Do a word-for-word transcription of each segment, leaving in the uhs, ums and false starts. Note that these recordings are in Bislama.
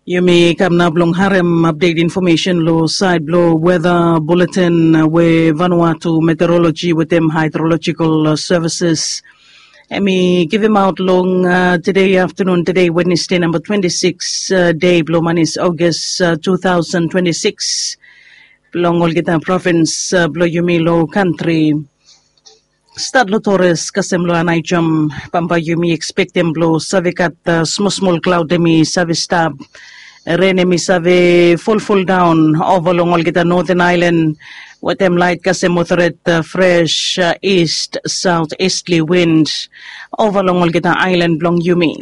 Yumi kam nao blong harem apdet infomesen long sait blong weta buletin we Vanuatu Meteorologi wetem Haidrolojikal Sevises hem i givimaot long tede aftanun, tede Wednesde, namba twenti sikis dei blong manis Ogos tu taosen twenti sikis, blong olgeta provins blong yumi long kantri. Stat long Torres kasem long Anaijom, bambae yumi ekspektem blong save gat smol smol klaod hem i save stap. Ren hem i save folfoldaon ova long olgeta noten aelan wetem lait kasem moderet fres ist saot istli win ova long olgeta aelan blong yumi.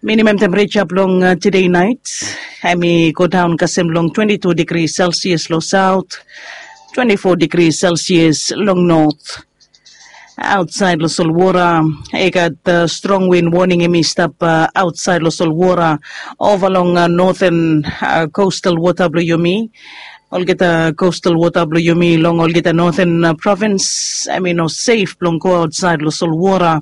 Minimam tempereja blong tede nait hem i godaon kasem long twenti tu digri selsias long saot, twenti fo digri selsias long not. Aotsaed long solwora i gat strong win woning hem i stap aotsaed long solwora ova long noten kostal wota blong yumi. Olgeta kostal wota blong yumi long olgeta noten provins hem i no sef blong go aotsaed long solwora.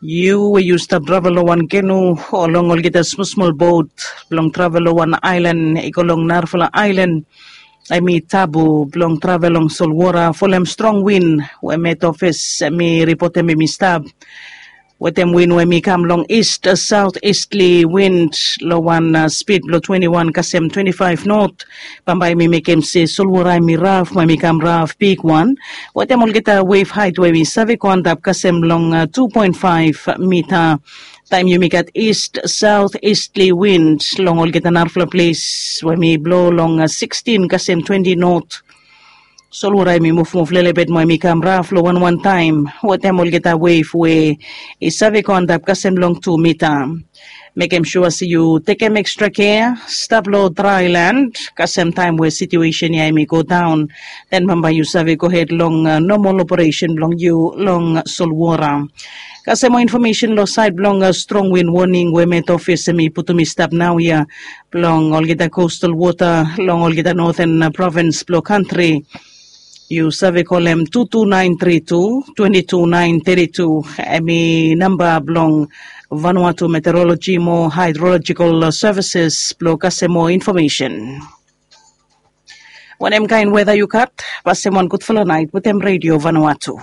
Yu we yu stap travel long wan kenu o long olgeta smol smol bot blong travel long wan aelan i go long narafala aelan, hem i tabu blong travel long solwora folem strong win we met ofis hem i ripotem hem i stap wetem win we hem i kam long ist saot istli win long wan spid blong twenti wan kasem twenti faef not. Bambae hem i mekem se solwora hem i raf mo hem i kam raf bigwan wetem olgeta wef haet we hem i save go antap kasem long tu poen faef mita. Taem yumi gat ist saot istli win long olgeta narafala ples we hem i blo long sikstin kasem twenti not, solwora hem i muvmuv lelebet mo hem i kam raf long wanwan taem wetem olgeta wef we i save go antap kasem long tu mita. Mekem sua se yu tekem ekstra kea, stap long draelan kasem taem we situesen ya hem i godaon, den bambae yu save gohed long nomol operesen blong yu long solwora. Kasem moa infomesen long sait blong strong win woning we met ofis hem i putum i stap naoia blong olgeta kostal wota long olgeta noten provins blong kantri. Yu save kolem tu tu naen tri tu twenti tu naen teti tu, hem i namba blong Vanuatu Meteorologi mo Haidrolojikal Sevises blong kasem moa infomesen. Wanem kaen weta yu gat? Pasem wan gudfala naet wetem Redio Vanuatu.